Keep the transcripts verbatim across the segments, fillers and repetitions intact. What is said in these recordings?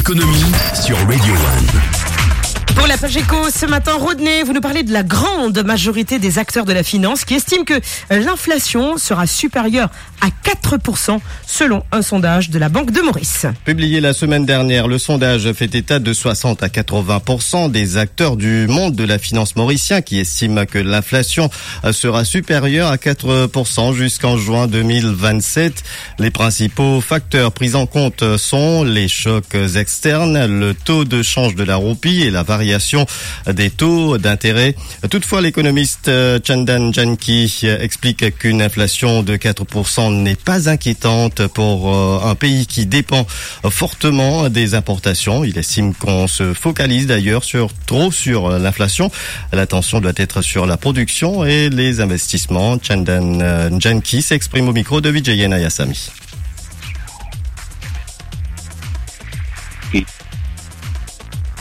Économie sur Radio One. Pour la page éco ce matin, Rodney, vous nous parlez de la grande majorité des acteurs de la finance qui estiment que, euh, l'inflation sera supérieure à quatre pour cent, selon un sondage de la Banque de Maurice. Publié la semaine dernière, le sondage fait état de soixante à quatre-vingts pour cent des acteurs du monde de la finance mauricien qui estiment que l'inflation, euh, sera supérieure à quatre pour cent jusqu'en juin deux mille vingt-sept. Les principaux facteurs pris en compte sont les chocs externes, le taux de change de la roupie et la variation des taux d'intérêt. Toutefois, l'économiste, euh, Chandan Janki, euh, explique qu'une inflation de quatre pour cent n'est pas inquiétante pour, euh, un pays qui dépend fortement des importations. Il estime qu'on se focalise d'ailleurs sur, trop sur l'inflation. L'attention doit être sur la production et les investissements. Chandan, euh, Janki s'exprime au micro de Vijay Nayasamy. Ke,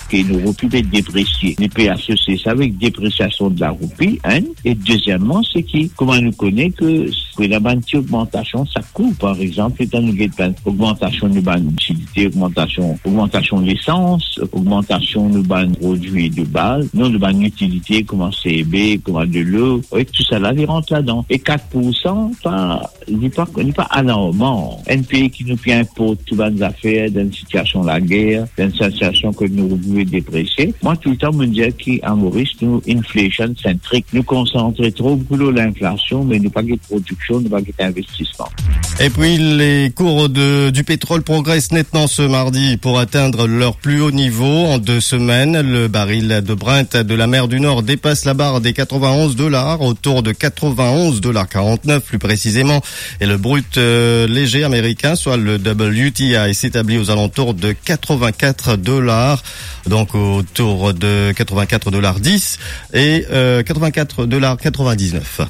ke nou roupi pe depresie. Nou pe asosie sa avek depresiasion de la roupi, enn. E dezieman, se ki, kouma nou kone ke pe ena bann ti ogmantasion sak kou, par exanp, letan nou get bann ogmantasion nou bann itilite, ogmantasion, ogmantasion lesans, ogmantasion nou bann prodwi de baz, non, nou bann itilite, kouma C B, kouma delo, wi, tousala, li rant ladan. E kat pour san, pa, li pa, li pa alarman. Enn pei ki nou pe inport tou bann zafer dan enn sitiasion lager, dan enn sitiasion kot nou roupi pe depresie. Mwa, toultan, mo dir ki a Moris, nou inflation centric. Nou konsantre tro boukou lor linflasion, me nou pa get prodiksion, nou pa get investisman. Et puis, les cours de, du pétrole progressent nettement ce mardi pour atteindre leur plus haut niveau en deux semaines. Le baril de Brent de la mer du Nord dépasse la barre des quatre-vingt-onze dollars, autour de quatre-vingt-onze dollars quarante-neuf plus précisément. Et le brut, euh, léger américain, soit le W T I, s'établit aux alentours de quatre-vingt-quatre dollars, donc autour de quatre-vingt-quatre dollars dix et, euh, quatre-vingt-quatre dollars quatre-vingt-dix-neuf.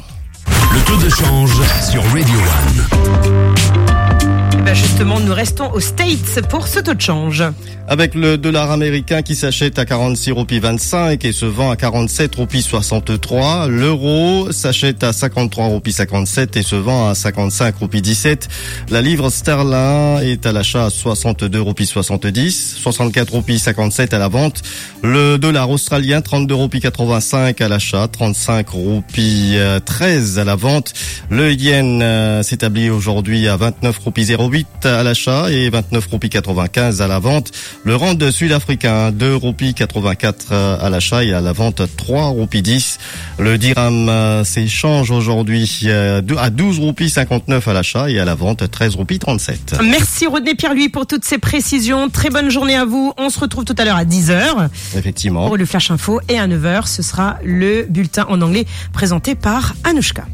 Le taux de change sur Radio One. Eh ben justement, nous restons aux States pour ce taux de change. Avec le dollar américain qui s'achète à quarante-six roupies vingt-cinq et se vend à quarante-sept roupies soixante-trois, l'euro s'achète à cinquante-trois roupies cinquante-sept et se vend à cinquante-cinq roupies dix-sept. La livre sterling est à l'achat à soixante-deux roupies soixante-dix, soixante-quatre roupies cinquante-sept à la vente. Le dollar australien, trente-deux roupies quatre-vingt-cinq à l'achat, trente-cinq roupies, euh, treize à la vente. Le yen, euh, s'établit aujourd'hui à vingt-neuf roupies zéro huit à l'achat et vingt-neuf roupies quatre-vingt-quinze à la vente. Le rand sud-africain, deux roupies quatre-vingt-quatre à l'achat et à la vente trois roupies dix. Le dirham, euh, s'échange aujourd'hui, euh, dou-, à douze roupies cinquante-neuf à l'achat et à la vente treize roupies trente-sept. Merci Rodney Pierre-Louis pour toutes ces précisions. Très bonne journée à vous. On se retrouve tout à l'heure à dix heures. Effectivement. Pour le Flash Info et à neuf heures, ce sera le bulletin en anglais présenté par Anouchka.